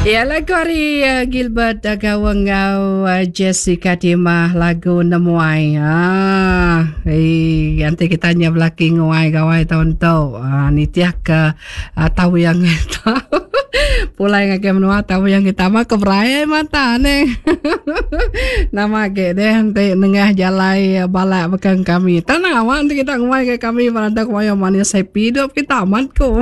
Ya lagu ari uh, Gilbert uh, Gawang enggau uh, Jessica Timah lagu Nemuai. Ah, eh anti kita nya belaki nguai gawai taun tu. Ah, nitih ke uh, tau yang pulai ngagai menua tau yang kita mah ke berai mata ne. Nama agi deh enti nengah jalai balak baka kami. Tanah awak enti kita nguai ke kami beranda kumayo manis happy hidup kita amat ko.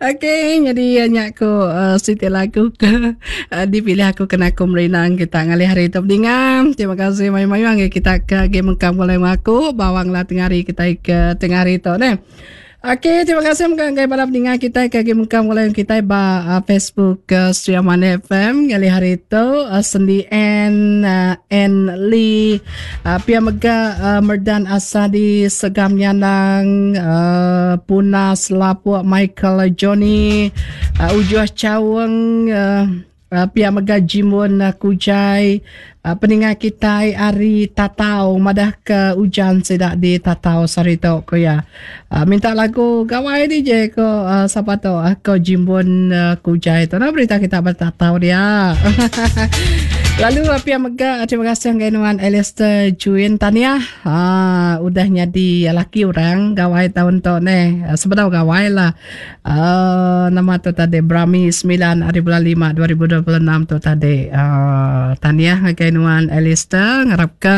Okey, jadi nya ku uh, siti lagu ke uh, dipilih aku kena aku merinang kita ngalih hari tu bendinga. Terima kasih mayuh-mayuh ngagai kita ke agi mengkang pulai aku bawang lah tengah hari kita ke tengah hari tu neh. Okey, terima kasih mega ngagai bala peninga kitai ke agi mengkang begulai enggau kitai ba uh, Facebook uh, Sri Aman FM ngalih hari tu uh, Sendi N uh, N Lee uh, pia mega uh, Merdan Asadi Segam Nyanang uh, Puna Selapuk Michael Johnny uh, Ujuh Chaung uh, Pia mega Jimbun Kujai peninga kitai ari Tatau madah ke ujan sida di Tatau sehari tu ku iya. Minta lagu gawai DJ ko sapa tu ko Jimbun Kujai tu. Nama berita kita ba Tatau dia. Lalu pia mega terima kasih ngagai nuan Alistair Juin Tahniah udah nyadi laki orang gawai taun tu neh. Sebedau gawai lah. Uh, nama tu tadi Brami 9 hari bulan 5 2026 tu tadi. Uh, tahniah ngagai nuan Alistair ngarap ke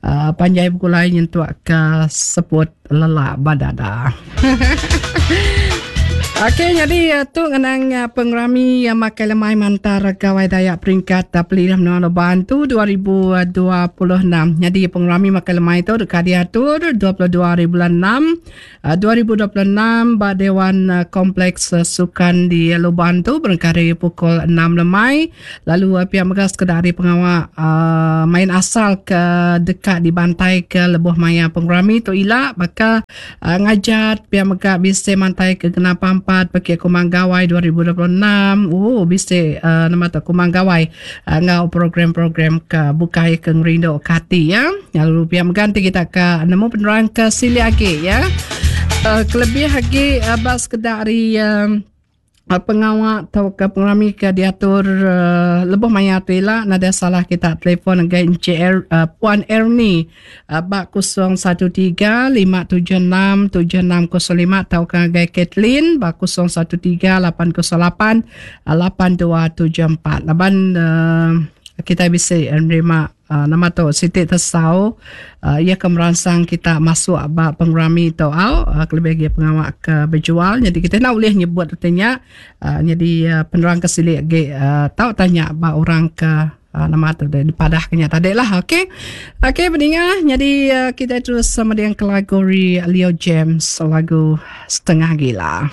uh, panjai begulai nyentuk ke seput lelak badada. Okey, jadi tu ngenang pengerami makai lemai mantar Gawai Dayak peringkat Pelilih Menua Luban tu 2026. Jadi pengerami makai lemai tu deka diatur 22 hari bulan 6 2026 ba Dewan Kompleks Sukan di Luban tu berengkah ari pukul enam lemai lalu pia mega sekeda ari pengawa main asal ke deka dibantaika lebuh maya pengerami tu ila baka ngajat pia mega bisi mantaika genap pampat pekit Kumang Gawai 2026 ooh bisi nama tu Kumang Gawai enggau program-program ke bukai ke ngerindu ke ati ya. Lalu pia mega enti kita ke nemu penerang ke silik agi ya. Uh, kelebih agi uh, ba sekeda ari uh, pengawa tauka pengerami ke diatur uh, lebuh maya tu ila nadai salah kita telefon ngagai Encik er, uh, Puan Ernie Ba 013 576 7605 tauka ngagai Kathleen ba 013 808 8274. Laban uh, kita bisi nerima uh, nama tu siti tesau uh, ia ke meransang kita masuk ba pengerami tu au uh, kelebih lagi pengawa ke berjual jadi kita nak boleh nyebut artinya uh, jadi uh, penerang ke silik agi uh, tau tanya ba orang ke Nama tu deh dipadah ke nya tadi lah. Okey. Okey peninga jadi uh, kita terus sama dengan lagu Leo James lagu Setengah Gila.